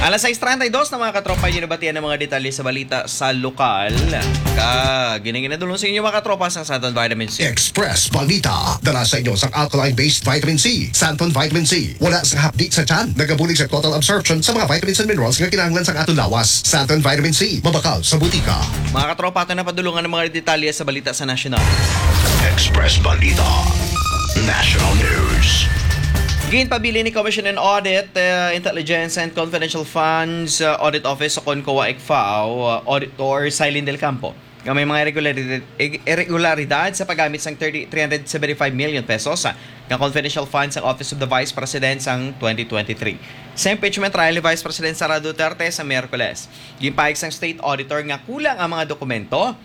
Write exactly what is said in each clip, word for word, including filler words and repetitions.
Alas sais treinta y dos na, mga katropa, inyo nabatian ang mga detalye sa balita sa lokal. Kag ginadulong sa inyo, mga katropa, sang Santon Vitamin C. Express Balita, dala sa inyo sang alkaline-based vitamin C, Santon Vitamin C. Wala sang hapdi sa tiyan, nagabulig sa total absorption sa mga vitamins and minerals nga kinahanglan sang aton lawas. Santon Vitamin C, mabakal sa butika. Mga katropa, ato na padulungan ang mga detalye sa balita sa nasyonal. Express Balita National News. Ginpabilin ni Commission on Audit, uh, Intelligence and Confidential Funds, uh, Audit Office o kon COA-ICFAO, uh, Auditor Silene Del Campo nga may mga irregularidad, irregularidad sa paggamit sang thirty, three hundred seventy-five million pesos, ah, nga confidential funds sang Office of the Vice President sang twenty twenty-three. Sa impeachment trial ni Vice President Sara Duterte sa Miyerkules, ginpahayag sang state auditor nga kulang ang mga dokumento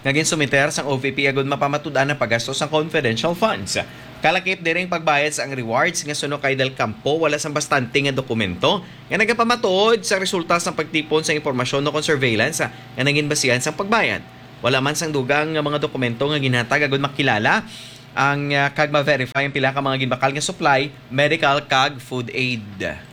nga ginsumiter sang O V P agud mapamatud-an ang paggastos sang confidential funds. Kalakip diri ang pagbayad sang rewards nga suno kay Del Campo, wala sang bastante nga dokumento nga nagapamatuod sa resulta sang pagtipon sang impormasyon o kon surveillance nga nangin basihan sang pagbayad. Wala man sang dugang nga mga dokumento nga ginhatag agud makilala ang, ah, kag ma-verify ang pila ka mga ginbakal nga supply, medical kag food aid.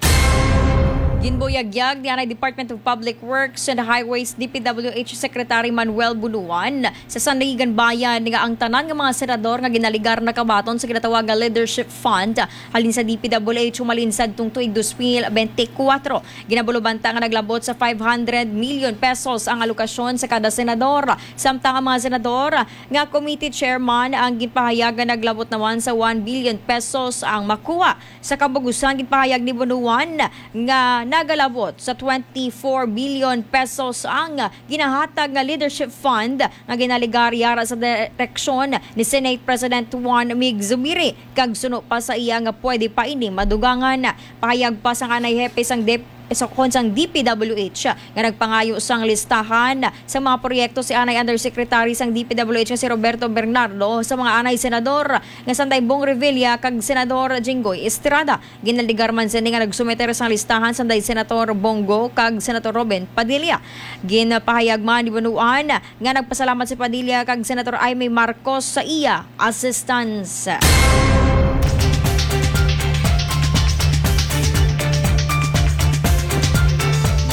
Ginbuyagyag ni anay Department of Public Works and Highways, D P W H, Secretary Manuel Bunuan sa Sandigan Bayan nga ang tanan nga mga senador nga ginaligar nakabaton sa ginatawag nga Leadership Fund halin sa D P W H humalin sadtong tuig dos mil bente kuwatro. Ginabulubanta nga naglabot sa five hundred million pesos ang alokasyon sa kada senador. Samtang ang mga senador nga committee chairman ang ginpahayag nga naglabot naman sa one billion pesos ang makuha. Sa kabugusan, ginpahayag ni Bunuan nga nagalabot sa twenty-four billion pesos ang ginahatag nga Leadership Fund nga ginaligar yara sa direksyon ni Senate President Juan Mig Zubiri, kag suno pa sa iya nga pwede pa ini madugangan. Pahayag pa sang anay hepe sang dep-, sa kon sang D P W H nga nagpangayo sang listahan sa mga proyekto si anay Undersecretary sang D P W H nga si Roberto Bernardo sa mga anay senador nga sanday Bong Revilla kag Senador Jinggoy Estrada. Ginaligar man sini nga nagsumiter sang listahan sanday Senator Bong Go kag Senator Robin Padilla. Ginpahayag man ni Bunuan nga nagpasalamat si Padilla kag Senator Imee Marcos sa iya assistance.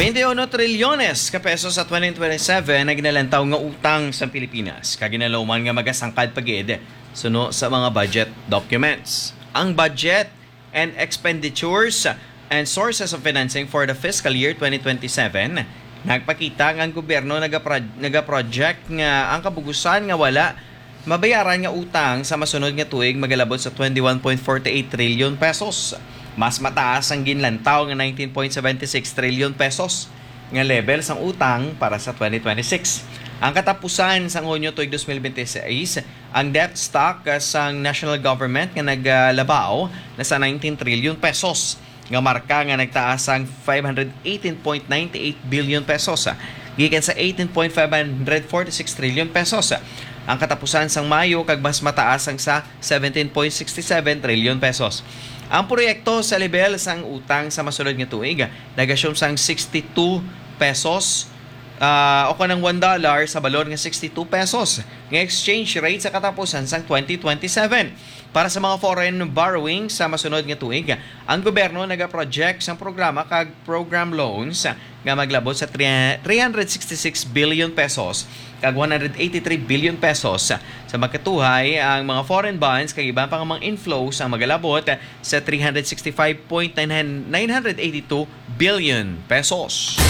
Twenty-one trilyones ka pesos sa twenty twenty-seven ang ginalantaw nga utang sa Pilipinas, kag ginalauman nga magasangkad pa gid suno sa mga budget documents. Ang budget and expenditures and sources of financing for the fiscal year twenty twenty-seven, nagpakita nga ang gobyerno nagapro-, nagaproject nga ang kabugusan nga wala mabayaran nga utang sa masunod nga tuig magalabot sa twenty-one point forty-eight trillion pesos. Mas mataas ang ginlantaw nga nineteen point seventy-six trillion pesos nga level sang utang para sa twenty twenty-six. Ang katapusan sang Hunyo tuig dos mil bente seis, ang debt stock, ah, sang national government nga nagalabaw na sa nineteen trillion pesos, nga marka nga nagtaas sang five hundred eighteen point nine eight billion pesos, ah, gikan sa eighteen point five hundred forty-six trillion pesos, ah, ang katapusan sang Mayo, kag mas mataas ang sa seventeen point six seven trillion pesos. Ang proyekto sa lebel sang utang sa masunod nga tuig, ah, nag-assume sang sixty-two pesos, ah, o kanang one dollar sa balor nga sixty-two pesos nga exchange rate sa katapusan sang twenty twenty-seven. Para sa mga foreign borrowing sa masunod nga tuig, ang gobyerno nagaproject sang programa kag program loans nga maglabot sa three, three hundred sixty-six billion pesos kag one hundred eighty-three billion pesos. Sa makatuhay, ang mga foreign bonds kag iban pa nga mga inflows ang magalabot sa three hundred sixty-five point nine, nine hundred eighty-two billion pesos.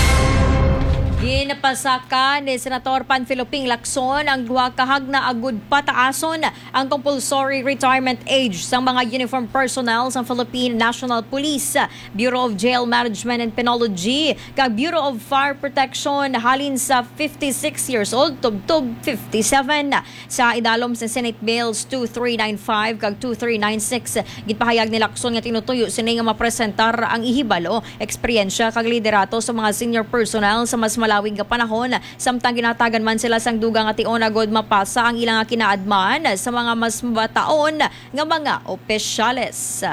Ginpasaka ni Senator Panfilo Ping Lacson ang duha ka hagna agud pataason ang compulsory retirement age sang mga uniform personnel sang Philippine National Police, Bureau of Jail Management and Penology, kag Bureau of Fire Protection halin sa fifty-six years old tubtob fifty-seven. Sa idalom sa Senate Bills two three nine five kag two three nine six, ginpahayag ni Lacson nga tinutuyo sini nga mapresentar ang ihibalo, eksperyensya, kag liderato sa mga senior personnel sa mas malawig nga panahon, samtang ginahatagan man sila sang dugang nga tion agud mapasa ang ila nga kinaadman sa mga mas mabataon nga mga opisyales.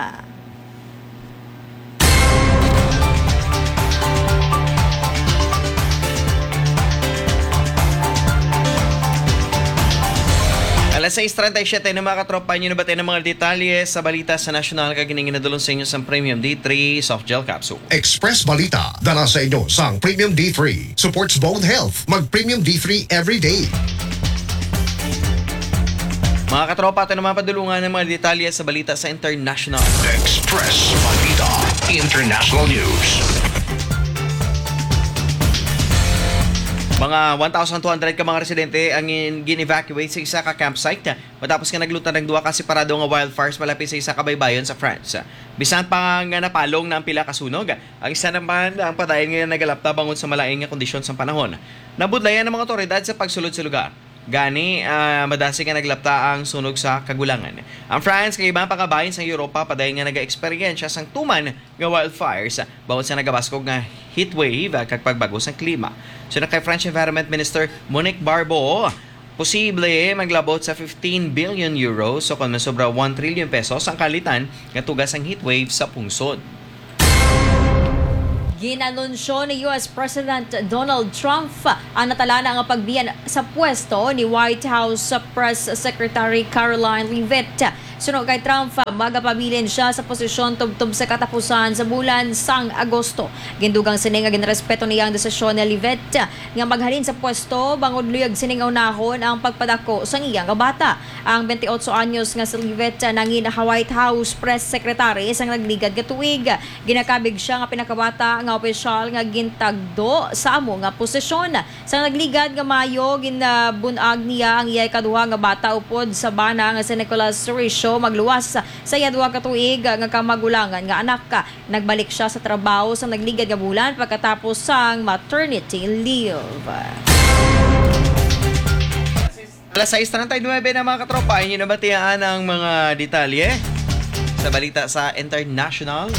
Alas sais treinta y siete na, mga katropa, inyo nabati ang mga detalye sa balita sa nasyonal, kag ining ginadulong sa inyo sang Premium D three Soft Gel Capsule. Express Balita, dala sa inyo sang Premium D three. Supports bone health. Mag Premium D three every day. Mga katropa, ato naman padulungan ang mga detalye sa balita sa international. Express Balita International News. Mga one thousand two hundred ka mga residente ang gin-, gin-evacuate sa isa ka campsite matapos nga naglutan ang duha ka separado nga wildfires malapit sa isa ka baybayon sa France. Bisan pa nga napalong na ang pila ka sunog, ang isa naman ang padayon nga nagalapta bangod sa malain nga kondisyon sang panahon. Nabudlayan ang mga otoridad sa pagsulod sa lugar. Gani, ah, madasig nga naglapta ang sunog sa kagulangan. Ang France kag iban pa nga bahin sa Europa padayon nga nagaeksperyensya sang tuman nga wildfires bangod sa nagabaskog nga heat wave, ah, kag pagbago sang klima. Suno kay French Environment Minister Monique Barbeau, posible maglabot sa fifteen billion euros, o kon masobra, one trillion pesos ang kalitan nga tuga sang heat wave sa pungsod. Ginanunsyo ni U S President Donald Trump ang natalana nga pagbiyan sa pwesto ni White House Press Secretary Karoline Leavitt. Suno kay Trump, magapabilin sia sa posisyon tubtob sa katapusan sa bulan sang Agosto. Gindugang sini nga ginrespeto niya ang desisyon ni Leavitt nga maghalin sa pwesto bangod luyag sining unahon ang pagpadako sang iya nga bata. Ang twenty-eight anyos nga si Leavitt nangin White House Press Secretary sang nagligad nga tuig. Ginakabig sia nga pinakabata nga opisyal nga gintagdo sa amo nga posisyon. Sa nagligad nga Mayo, ginbun-ag niya ang iya ikaduha nga bata upod sa bana nga si Nicholas Richo, magluwas sa iya duha ka tuig nga kamagulangan nga anak. Nagbalik sia sa trabaho sa nagligad nga bulan pagkatapos sang maternity leave. Alas sais treinta y nueve na, mga katropa, inyo nabatian ang mga detalye sa balita sa international.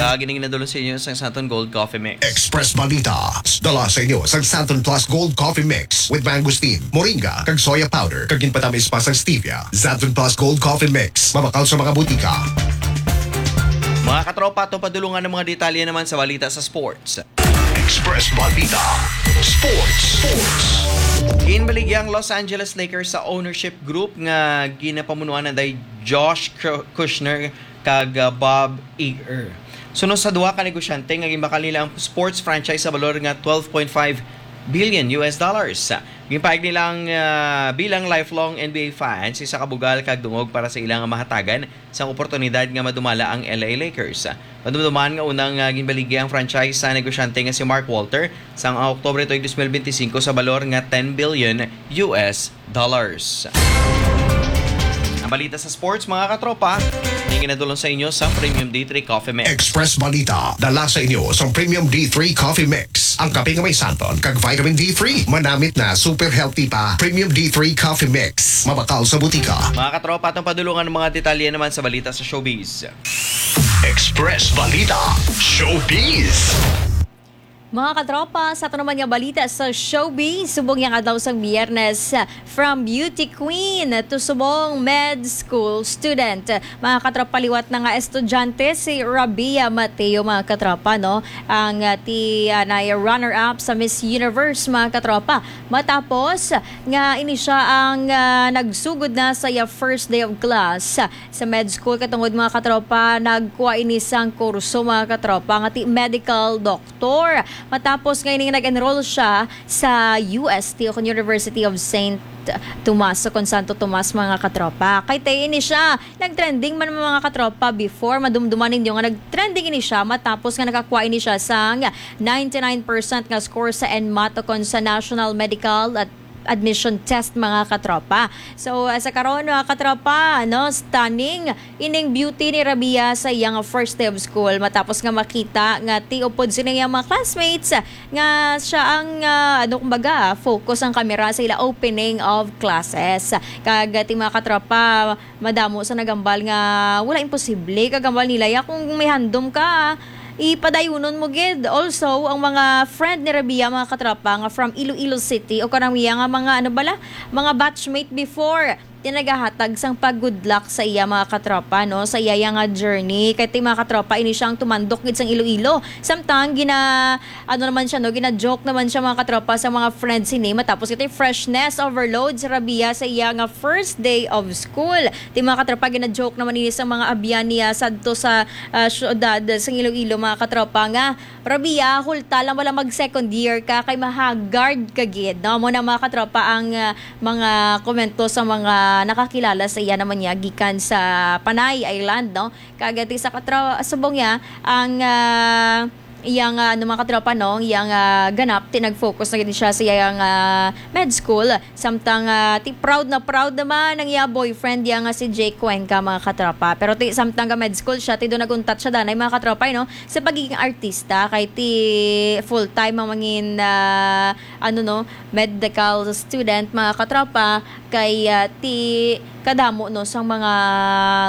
Kag ining nadulong sa inyo sang Santon Gold Coffee Mix. Express Balita, dala sa inyo sang Santon Plus Gold Coffee Mix with mangosteen, moringa, kag soya powder, kag ginpatamis pa sang stevia. Santon Plus Gold Coffee Mix, mabakal sa mga butika. Mga katropa, ato padulungan ang mga detalye naman sa balita sa sports. Express Balita Sports. Sports. Ginbaligya ang Los Angeles Lakers sa ownership group nga ginapamunuan na day Josh Ku-, Kushner kag, uh, Bob Iger. Suno sa duha ka negosyante nga ginbakal nila ang sports franchise sa balor nga twelve point five billion U S dollars. Ginpahayag nila ang, uh, bilang lifelong N B A fans, isa ka bugal kag dungog para sa ilang mahatagan sang oportunidad nga madumala ang L A Lakers. Madumduman nga unang, ah, ginbaligya ang franchise sa negosyante nga si Mark Walter sang Oktubre tuig dos mil benti singko sa balor nga ten billion U S dollars. Ang balita sa sports, mga katropa, ang ginadulong sa inyo sa Premium D three Coffee Mix. Express Balita, dala sa inyo sa Premium D three Coffee Mix. Ang kape nga may santon kag vitamin D three. Manamit na, super healthy pa. Premium D three Coffee Mix. Mabakal sa butika. Mga katropa, atong padulungan ang mga detalye naman sa balita sa showbiz. Express Balita Showbiz. Mga katropa, sa ato naman nga balita sa showbiz, subong yang adlaw sang Biyernes, from beauty queen to subong med school student. Mga katropa, liwat na nga estudyante si Rabia Mateo, mga katropa, no? Ang, ah, ti, ah, nay runner-up sa Miss Universe, mga katropa. Matapos nga ini siya ang, ah, nagsugod na sa iya first day of class sa med school, katungod, mga katropa, nagkuha ini sang kurso, mga katropa, nga ti medical doctor. Matapos nga ini nag-enroll siya sa U S T o kon University of Saint Tomas o kon Santo Tomas, mga katropa. Kay ti ini siya nag-trending man, mga katropa, before. Madumduman ninyo nga nag-trending ini siya matapos nga nakakuha ini siya sang ninety-nine percent nga score sa NMAT o kon sa National Medical at Admission Test, mga katropa. So, ah, sa karon, mga katropa, no, stunning ining beauty ni Rabia sa iyang first day of school matapos nga makita nga ti upod sini iyang mga classmates nga siya ang, ah, ano, kumbaga, focus ang kamera sa ila opening of classes. Kag, ah, ti, mga katropa, madamo sa nagambal nga wala imposible, kagambal nila ya kung may handom ka, ipadayunon mo gid. Also, ang mga friend ni Rabia, mga katropa, nga from Iloilo City o kanang iya nga mga, ano bala, mga batchmate before, Ti nagahatag sang pag-good luck sa iya, mga katropa, no, sa iya nga journey. Kay ti, mga katropa, ini siya ang tumandok gid sang Iloilo. Samtang gina-, ano naman siya, no, gina-joke naman siya, mga katropa, sa mga friends ini. Matapos ito, freshness overload sa Rabia sa iya nga first day of school. Ti, mga katropa, gina-joke naman ini sa mga abyan niya sadto sa, ah, syudad sang Iloilo, mga katropa, nga Rabia, hulta lang wala mag second year ka kay mahagard ka gid, no? Mo na, mga katropa, ang, ah, mga komento sa mga nakakilala sa iya naman niya gikan sa Panay Island, no? Kag ti sa katra-, subong niya ang, ah, iyang, ah, ano, mga katropa, no? Iyang, ah, ganap, ti nag-focus na gid siya sa iyang, ah, med school. Samtang, ah, ti proud na proud naman ang iya boyfriend diya nga si Jake Cuenca, mga katropa. Pero ti samtang ga med school siya, ti do naguntat siya danay, mga katropa, no, sa pagiging artista, kay ti full time ang mangin, ah, ano, no, medical student, mga katropa, kay, ah, ti kadamo, no, sang mga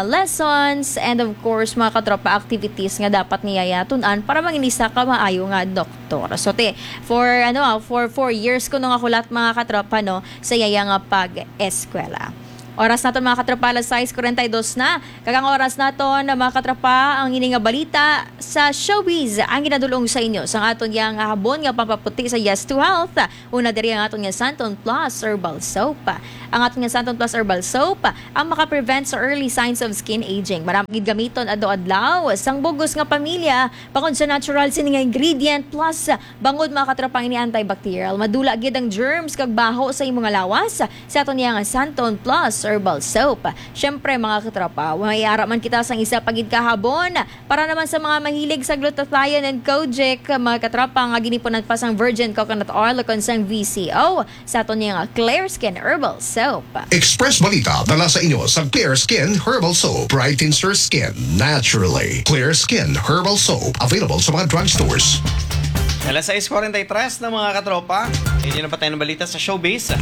lessons and, of course, mga katropa, activities nga dapat niya tun-an para mangin isa ka maayo nga doktor. So ti for, ano, ah, for four years kuno nga hulat, mga katropa, no, sa iya nga pag-eskwela. Oras naton, mga katropa, alas sais kuwarenta y dos na. Kag ang oras naton, mga katropa, ang ini nga balita sa showbiz ang ginadulong sa inyo sang aton yang habon nga pampaputi sa Yes to Health. Una diri ang aton nga Santon Plus Herbal Soap. Ang aton nga Santon Plus Herbal Soap ang makaprevent sa early signs of skin aging. Marami gid gamiton adlaw-adlaw sang bugos nga pamilya bangod sa natural sini nga ingredient plus bangod, mga katropa, ini antibacterial. Madula gid ang germs kag baho sa imo nga lawas sa aton niya nga Santon Plus Herbal Soap. Siyempre, mga katropa, may ara man kita sang isa pa gid ka habon para naman sa mga mahilig sa glutathione and kojic, mga katropa, nga ginipunan pa sang virgin coconut oil o kon sang V C O sa aton niya nga Clear Skin Herbal Soap. Express Balita dala sa inyo sa Clear Skin Herbal Soap. Brightens your skin naturally. Clear Skin Herbal Soap, available sa mga drugstores. Alas sais kuwarenta y tres na, mga katropa. Hindi na pa tayo ng balita sa showbiz.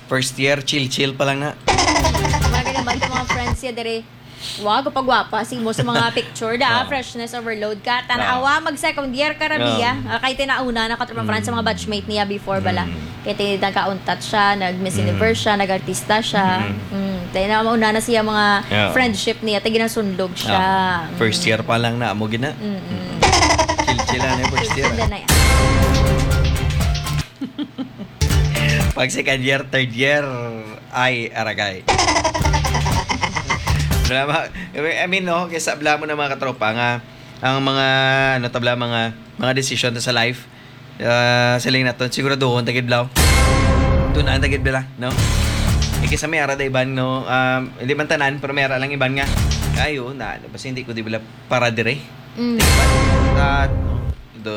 First year, chill-chill pa lang na. Mga ganyan ba itong mga friends niya dere? Wow, gapagwapa si mo sa mga picture da, ah. Freshness overload ka. Tanawa, mag second year ka, Rabia. Ah. Ah, kay tinauna na ka, mga friends, sa mga batchmate niya before bala. Mm. Kay ti-, nagkauntat siya, nag-Miss Universe siya, nag-artista siya. Mm. Mm. Tayo na, mauna na siya mga friendship niya, tayo ginasunlog siya. Ah. First year pa lang na, amo gina. Mm-mm. Chill-chill lang na yung first year. Chill-chill na yan. Pag second year, third year, ay, aragay. Wala ma-, I mean, no, kaysa bala mo na, mga katropa, nga ang mga, ano, tabla, mga, mga desisyon ta sa life, ah, siling naton, siguraduhon ta gid, bala. Tunaan ta gid, bala, no? Eh, kaysa may ara da iban, no? Um, hindi man tanan, pero may ara lang iban nga, "Ay, oo, na, basta hindi ko di bala para dire." Mm. Di ba? At, no? Do,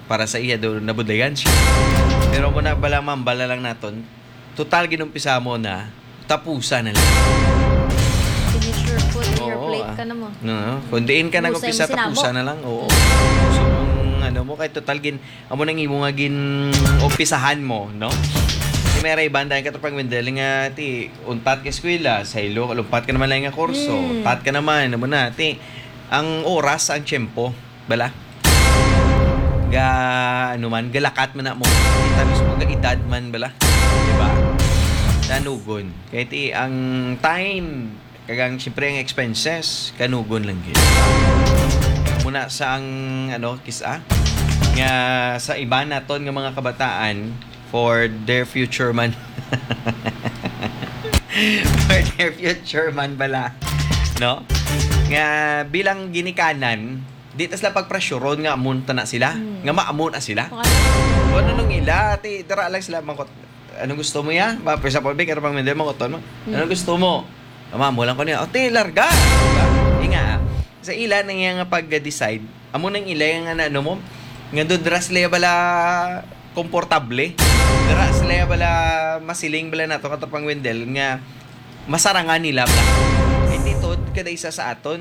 para sa iya, do, nabudlayan siya. Pero kung na bala, ma'am, bala lang naton, total, ginumpisa mo na, tapusan na lang. Finish your food in your plate ka na mo. Oo, ah. No, no. Kung diin ka nag-umpisa, tapusan na lang. Oo. Mm. So, kung ano mo, kahit total gin-, amo nang imo nga gin-umpisahan mo, no? Di may raiban dahil ka to pag Wendell nga, ti, untat ka eskwela, sa ilo, lumpat ka naman lang nga kurso, mm, untat ka naman, amo na, ti, ang oras, ang tiyempo. Bala? Ga, ano man, galakat man na mo. Kita mismo ga edad man, bala? Di ba? Tanugon. Kaya ti, ang time, kag ang, siyempre, ang expenses, kanugon lang gid. Muna sa ang, ano, kisa, nga sa iba naton nga mga kabataan, for their future man. For their future man bala. No? Nga bilang ginikanan, di ta sila pagpresyuron nga amo ta na sila, hmm, nga maamo na sila. Kung ano. Kung ano nung ila, ti, dara lang sila, mangkot, "Anong gusto mo, ya?" Ba, for example, Vic, ano pang mender, mangkoton mo? Hmm. "Anong gusto mo?" "Ama, amo lang ko niya." "O, ti, larga." Diba? Inga, sa ila na nga pag-decide, amo nang ila nga na, ano mo, nga doon dara sila bala komportable. Dara sila bala masiling bala nato, katapang Wendell, nga masarangan nila ba? Hindi to, kada isa sa aton,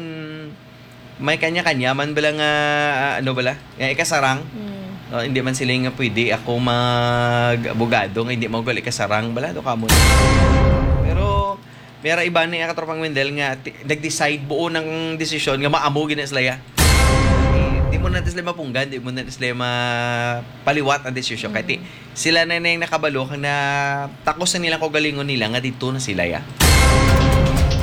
may kanya-kanya man bala nga, ah, ano bala, nga ikasarang. Hmm. Ah, hindi man sila nga pwede ako mag-abogado nga hindi mo gali ikasarang bala, do kamo. Pero, may ara iba ni katropang Wendell nga ti-, nag-decide buo ng desisyon nga maamo gina sila ya. Di, di Mo na sila mapunggan, di mo na sila mapaliwat ang desisyon. Kay ti, Mm. sila na na yung nakabalo kang na takos na nilang kaugalingon nila nga dito na sila, ya.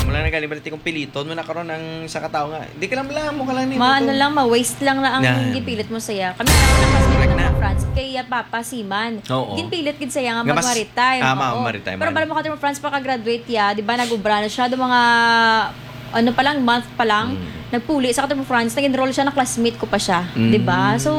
Wala na galing, baliti kung piliton mo na karon ang sa katao nga, di ka lang, wala mo ka lang ni Ma, ano tuto. lang, ma-waste lang na ang Na. gipilit mo saya. Kami, anak ko, na classmate Correct ko na. na France, kay, ah, Papa Seaman. Oo. Ginpilit gid saya nga Nga mas, mag-maritime. ah, ma-, Oo. maritime, Pero ano. bala mo ka, France, pagka-graduate ya, di ba, nag-ubra na siya, do mga, ano pa lang, month pa lang, Mm. nagpuli sa ka, France, nag-enroll siya, na classmate ko pa siya, Mm. di ba? So,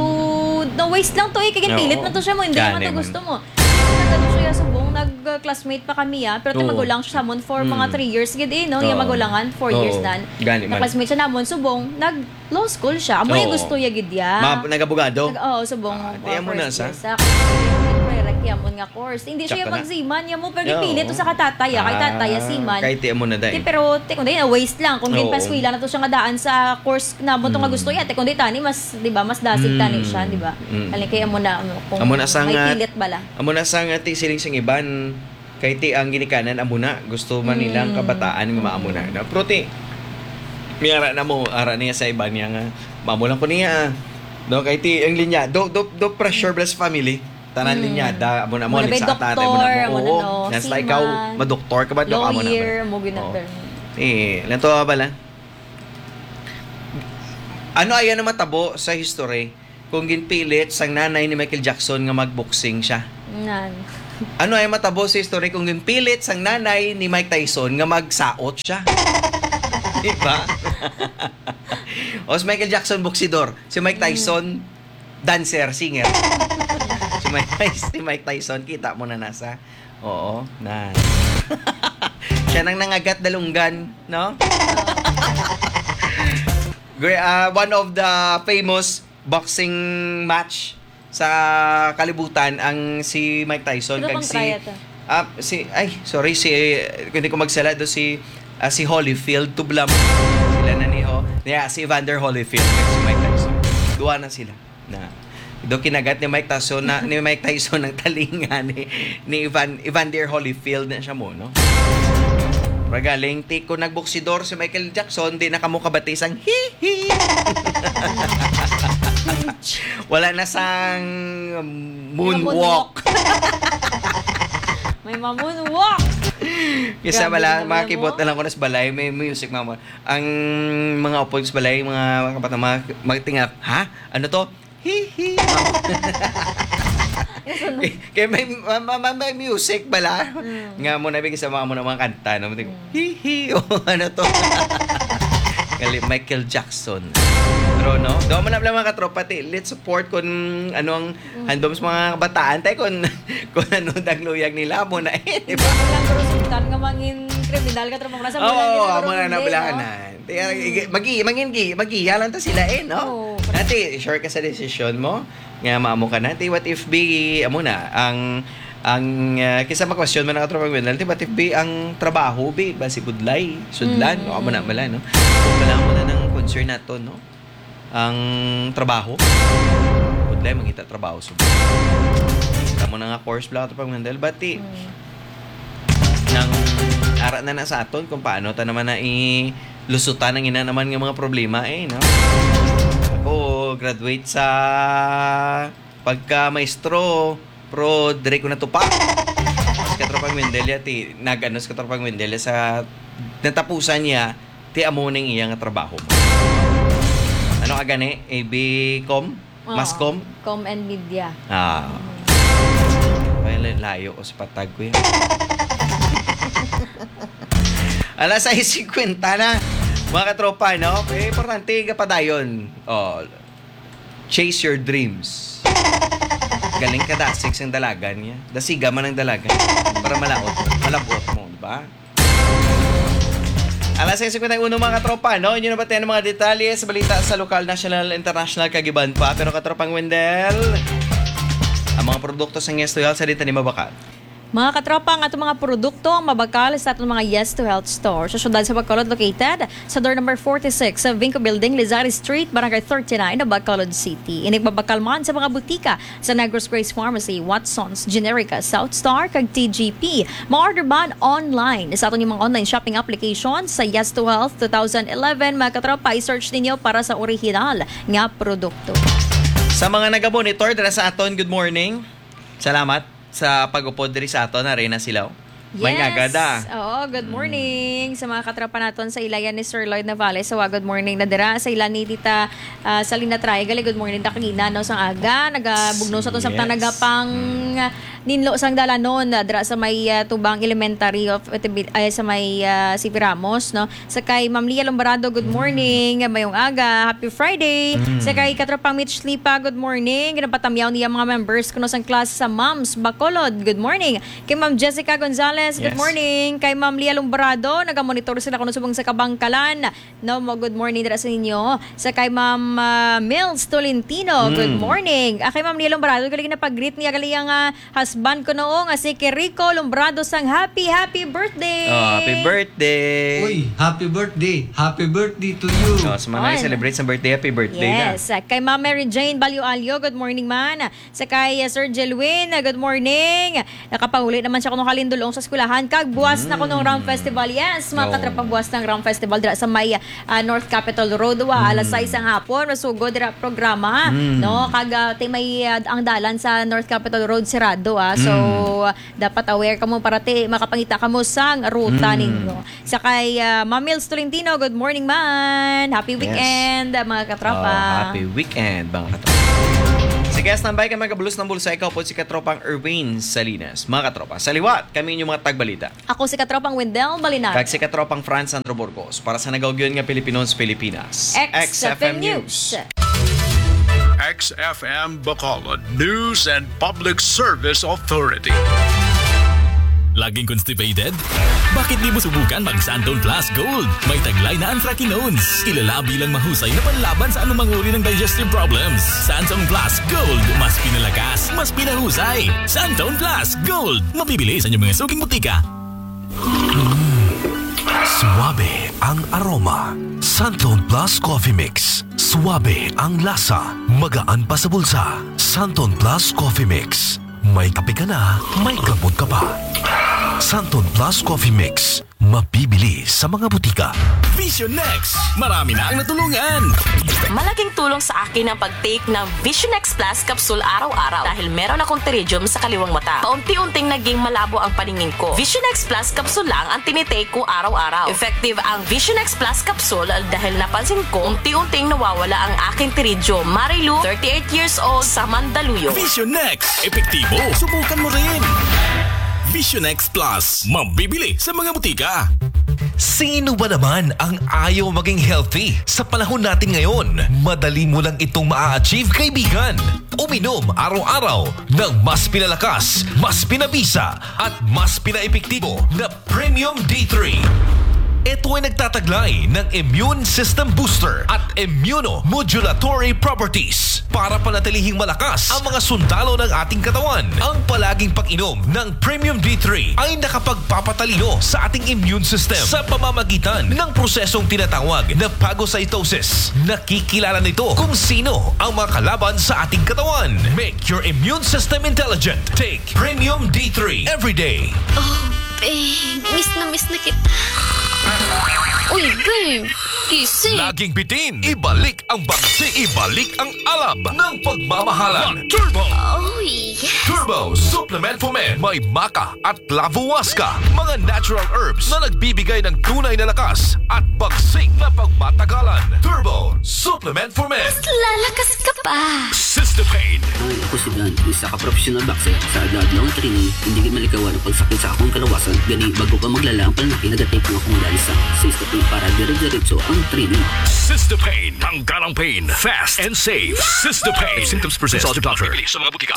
na-waste lang to eh, kay ginpilit Oo. na to siya mo, hindi Gani naman to man. gusto mo. Nag-ano siya, subong, nag-classmate pa kami, ah, pero ti Oo. magulang siya sa amon for mga Mm. three years gid eh, no? Yung Oo. magulangan, four years Oo. nan. Gani man. Na-classmate siya namon, subong, nag-law school siya. Amo yung Oo. gusto ya gid ya. Ma-, nag-abogado? Nag-, oo, subong, Ah, uh, di amo na first sa? year sa, kasi prerequirement nga course. Hindi siya Tsaka na. pag-seaman, ya mo, pero Oo. gipilit to sa katatay, ah, kay tatay, ah, Ah, seaman. kay ti amo na, day. Di, pero, ti, kung di, waste lang. Kung Oo. ginpaskwela na to siya nga daan sa course na mo to nga Mm. gusto ya, ti, kung di, tani, mas, di ba, mas dasig tani siya, Mm. di ba? Mm. Kali kay amo na, ano, kung Amo na sa may nga pilit bala. Amo na sa nga ti siling sing iban, kay ti ang ginikanan amo na, gusto man nila ang Mm. kabataan nga maamo na, Mm. no? Pero ti, may ara na mo, ara niya sa iban niya nga, maamo lang ko niya, no? Kay ti ang linya, do, do, do pressure bless family. Tanan Mm. linya, da, amo na mo, Muna may sa ata, amo na doktor, mo. amo na Oo, no, nasa ikaw, seaman, madoktor ka ba? Do, amo na ba? lawyer, mo ginapirmi. Oo. Eh, lang to bala. Ano aya na matabo sa history kung ginpilit sang nanay ni Michael Jackson nga magboxing siya? Nan. Ano ay matabo sa history kung ginpilit sang nanay ni Mike Tyson nga magsaot siya? Di ba? O si Michael Jackson, boksidor. Si Mike Mm. Tyson, dancer, singer. Si Mike Tyson, si Mike Tyson, kita mo na nasa. Oo, na. Siya nang nangagat dalunggan, no? Gre-, ah, one of the famous boxing match sa kalibutan ang si Mike Tyson Sino kag bang si, kaya to? ah, si, ay, sorry, si, kung di ko magsala, do si, ah, si Holyfield, tublam. Sila na ni, oh. Yeah, si Evander Holyfield kag si Mike Tyson. Duwa na sila. Na, do kinagat ni Mike Tyson na, ni Mike Tyson ang talinga ni, ni Evan-, Evander Holyfield na siya mo, no? Pero galing, ti, kung nagboksidor si Michael Jackson, di na kamo kabati sang hihi. Wala na sang moonwalk. Moonwalk. May ma-moonwalk. Kisa Grabe bala, naman mga mo. kibot na lang ko na sa balay, may music, mama. Ang mga upod sa balay, mga, mga kapatid, mga, mga tingap, "Ha? Ano to?" Hihi. Kaya may, ma-, ma-, ma-, may music bala. Mm. Nga mo nabigay sa mga, mo na mga kanta, no? Mm. Hihi. O, ano to? Kali Michael Jackson. Pero, no? Daw mo na pala, mga katropa, ti, let's support kung ano ang Mm. handom sa mga kabataan. Tayo kung, kung ano dagluyag nila mo na, eh, di Hindi ba? mo lang, pero sugtan nga mangin kriminal ka, tropa, nasa Oo, bulan nila, amo pero na hindi, nabalahan no? na. Ti, ah, Mm. igi-, magi-, mangin gi-, magiya lang ta sila eh, no? Oo. Nati, sure ka sa desisyon mo? Nga maamo ka na? Ti, what if be, amo na, ang, ang, ah, kisa ma-question man ang atong pag-winner, ti, what if be ang trabaho, be, ba si Budlay, Sudlan, Mm. o amo na, wala, no? So, kailangan mo na ng concern nato, no? Ang trabaho, Budlay, mangita trabaho, Sudlan. Amo na nga course, bla, atong pag-winner, but ti, Mm. nang ara na na sa aton kung paano ta naman na i-, lusutan ang ina naman nga mga problema, eh, no? Ako, graduate sa pagka-maestro, pero dire ko natupa. Sa katropang Wendell, ya, ti, nag-ano sa katropang Wendell, sa natapusan niya, ti amo ning iya nga trabaho. Ano ka gani? A B Com? Oo. Mascom? Com and Media. Ah. Mm. Ay, la-, layo ko sa patag ko yan. Alas sais cincuenta na, mga katropa, no? Eh, importante, kapadayon. Oh, chase your dreams. Galing ka, dasig sang dalagan niya. Dasiga man ang dalagan. Para malaot, malabot mo, di ba? Alas sais cincuenta y uno, mga katropa, no? Inyo nabatian ang mga detalye sa balita sa lokal, national, international, kag iban pa. Pero, katropang Wendell, ang mga produkto sa Ngesto Health sa dita ni Mabakat. Mga katropa, ang atong mga produkto ang mabakal sa atong mga Yes to Health store sa siyudad sa Bacolod, located sa door number forty-six sa Vinco Building, Lizari Street, Barangay thirty-nine, Bacolod City. Inig mabakal man sa mga butika sa Negros Grace Pharmacy, Watson's Generica, South Star, kag T G P. Ma-order man online sa aton mga online shopping application sa Yes to Health two thousand eleven. Mga katropa, i-search ninyo para sa original nga produkto. Sa mga naga-monitor dira sa aton, good morning. Salamat sa pag-upod diri sa aton, Arena Silaw. May Yes. Ngagada. Oo, good morning sa mga katropa naton sa ilayan ni Sir Lloyd Navales. So, good morning na dira sa ilan ni Tita ah, Salina Triangle. Good morning, Dakagina, no, sang aga. Nagabugno sa to samtang Yes. nagapang ah, ninlo sang dalanon ah, dira sa may ah, Tubang Elementary of Tibi- ay, sa may ah, C P Ramos, no. Sa kay Ma'am Lia Lombarado, good morning. Mayong aga. Happy Friday. Sa kay Katropang Mitch Lipa, good morning. Ginapatamyaw niya mga members kuno sang class sa Moms Bacolod. Good morning. Kay Ma'am Jessica Gonzalez, good Yes. morning. Kay Ma'am Lia Lombarado, nagamonitor sila kuno subong sa Kabangkalan. No, mo good morning dira sa inyo. Sa kay Ma'am ah, Mills Tolentino, good morning. Ah, kay Ma'am Lia Lombarado, galing na pag-greet niya, galing ang ah, husband ko noo nga si Kirico Lombrado sang happy, happy birthday! Oh, happy birthday! Uy, happy birthday! Happy birthday to you! Oh, sa mga On. Celebrate sa birthday, happy birthday na. Yes. Kay Ma'am Mary Jane Balyo Alyo, good morning man. Sa kay uh, Sir Jelwin, uh, good morning. Nakapahuli naman siya kuno kalindulong sa eskwelahan. Kag buwas na kuno ang Ram Festival. Yes, mga Oo. Katrapang buwas ng Ram Festival dira sa may uh, North Capitol Road. Wa, alas sais ang hapon. Masugod dira programa. No? Kag uh, ti may uh, ang dalan sa North Capitol Road sirado. Ah. So, uh, dapat aware kamo para ti makapangita kamo sang ruta ninyo. Sa kay ah, Ma'am Mills Tolentino, good morning man. Happy Yes. Weekend, ah, mga katropa. Oh, happy weekend, mga katropa. Sige, standby ka, magabulos ng bulsa. Ikaw po si katropang Erwin Salinas. Mga katropa, sa liwat, kami inyong mga tagbalita. Ako si katropang Wendell Balinaga. Kag si katropang Franz Andro Burgos para sa nagaugyon nga Pilipinon sa Pilipinas. X F M News. X F M Bacolod News and Public Service Authority. Laging constipated? Bakit di mo subukan mag Santon Plus Gold? May taglay na anthracanones, kilala bilang mahusay na panlaban sa anumang uri ng digestive problems. Santon Plus Gold, mas pinalakas, mas pinahusay. Santon Plus Gold, mabibili sa inyong mga suking butika. Suabe ang aroma. Santon Plus Coffee Mix. Suabe ang lasa. Magaan pa sa bulsa. Santon Plus Coffee Mix. May kape ka na, may gamot ka pa. Santon Plus Coffee Mix. Mabibili sa mga butika. Vision X! Marami na ang natulungan! Malaking tulong sa akin ang pag-take ng Vision X Plus capsule araw-araw dahil meron akong pterygium sa kaliwang mata. Paunti-unting naging malabo ang paningin ko. Vision X Plus capsule lang ang tinitake ko araw-araw. Effective ang Vision X Plus capsule dahil napansin ko unti-unting nawawala ang aking pterygium. Marilu, thirty-eight years old, sa Mandaluyong. Vision X! Epektibo! Subukan mo rin! Vision X Plus, mabibili sa mga butika. Sino ba naman ang ayaw maging healthy? Sa panahon natin ngayon, madali mo lang itong maa-achieve, kaibigan. Uminom araw-araw ng mas pinalakas, mas pinabisa, at mas pinaepektibo na Premium D three. Ito ay nagtataglay ng immune system booster at immunomodulatory properties para panatilihing malakas ang mga sundalo ng ating katawan. Ang palaging pag-inom ng Premium D three ay nakapagpapatalino sa ating immune system sa pamamagitan ng prosesong tinatawag na phagocytosis. Nakikilala nito kung sino ang mga kalaban sa ating katawan. Make your immune system intelligent. Take Premium D three every day. Oh, babe. Miss na miss na kita. Uy, babe. Gising. Laging bitin. Ibalik ang bagsi. Ibalik ang alab ng pagmamahalan. Turbo! Oh, yes. Turbo Supplement for Men. May maca at clavuhuasca. Mga natural herbs na nagbibigay ng tunay na lakas at bagsik na pagmatagalan. Turbo Supplement for Men. Mas lalakas ka pa. Sister Pain. Hi, ako si Dan, isa ka professional boxer. Sa agad nga akong training, hindi gid malikawan ang pagsakit sa akong kalawasan. Gani, bago pa maglala ang pananakit, nagatik ang akong dali sa Sister Pain para dire-diretso ang training. Sister Pain. Tanggal ang pain. Fast and safe. Sister Pain. If symptoms persist, consult your doctor. Bibili sa mga butika.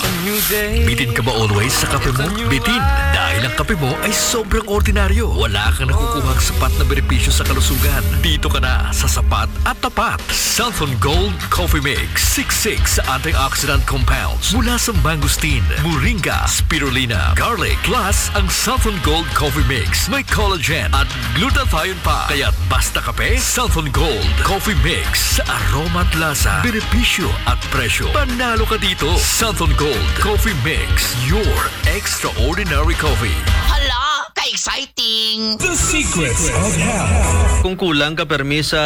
Bitin ka ba always sa kape mo? Bitin, dahil ang kape mo ay sobrang ordinaryo. Wala kang nakukuhang sapat na benepisyo sa kalusugan. Dito ka na sa sapat at tapat. Santhon Gold Coffee Mix. Six six antioxidant compounds mula sa mangosteen, moringa, spirulina, garlic. Plus, ang Santhon Gold Coffee Mix may collagen at glutathione pa. Kaya basta kape, Santhon Gold Coffee Mix. Aroma at lasa, benepisyo at presyo. Panalo ka dito. Santhon Gold Coffee Mix, your extraordinary coffee. Hala, ka-exciting! The Secrets of Health. Kung kulang ka permi sa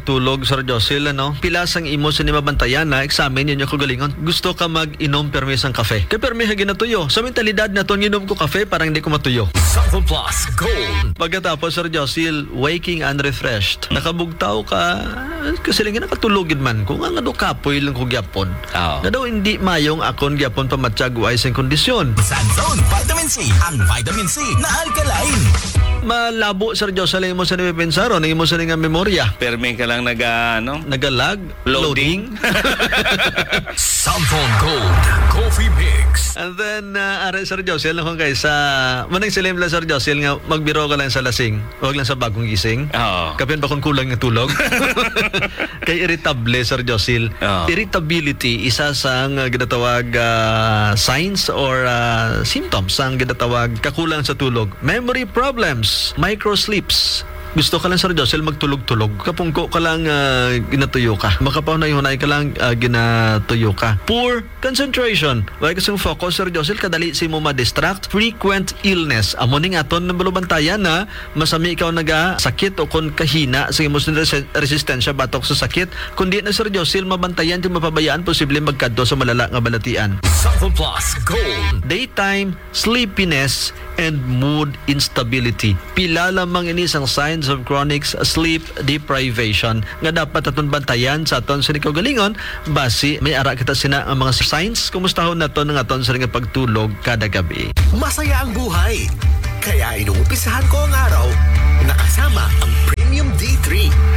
tulog, Sir Josil, ano? Pila sang imo sini mabantayan na examine ninyo kaugalingon? Gusto ka mag-inom permi sang kafe? Kay permi ha ginatuyo. Sa mentalidad naton, inom ko kafe para hindi ko matuyo. Santhon Plus Gold. Pagkatapos, Sir Josil, waking unrefreshed. Nakabugtaw ka, kasi lang nakatulog gid man ko. Nga, nga daw kapoy lang ko gyapon. Oo. Nga daw hindi mayong akon gyapon pamatyag wa sing kondisyon. Santhon Vitamin C, ang vitamin C na alkaline. Malabo, Sir Josil, ang imo sa napipensar, o ang imo sa nga memorya. Permi ka lang naga, ano? Nagalag? Loading? Loading? Santhon Gold Coffee Mix. And then, uh, are, Sir Josil, kung kay sa, manang silim lang, Sir Josil, nga magbiro ka lang sa lasing, wag lang sa bagong gising. Oo. Kapin ba kung kulang nga tulog? Kay irritable, Sir Josil. Oo. Irritability, isa sang, uh, ginatawag, uh, signs or, uh, symptoms sang ginatawag kakulang sa tulog. Memory problems, micro sleeps. Gusto ka lang, Sir Josil, magtulog-tulog. Kapungko ka lang, ah, ginatuyo ka. Makapahunay-hunay ka lang, ah, ginatuyo ka. Poor concentration. Wala ka sing focus, Sir Josil, kadali sa imo ma-distract. Frequent illness. Amo ning aton nga balubantayan na masami ikaw nagasakit o kon kahina sa imo sing resi-, resistensya batok sa sakit. Kundi na, Sir Josil, mabantayan kung mapabayaan, posible magkadto sa malala nga balatian. Santhon Plus Gold. Daytime sleepiness and mood instability. Pila lamang ini sang signs of chronic sleep deprivation nga dapat aton bantayan sa aton sini kaugalingon. Basi may ara kita sina nga mga signs, kumustahon naton ang aton sini nga pagtulog kada gabi. Masaya ang buhay. Kaya inumpisahan ko ang araw nakasama ang Premium D three.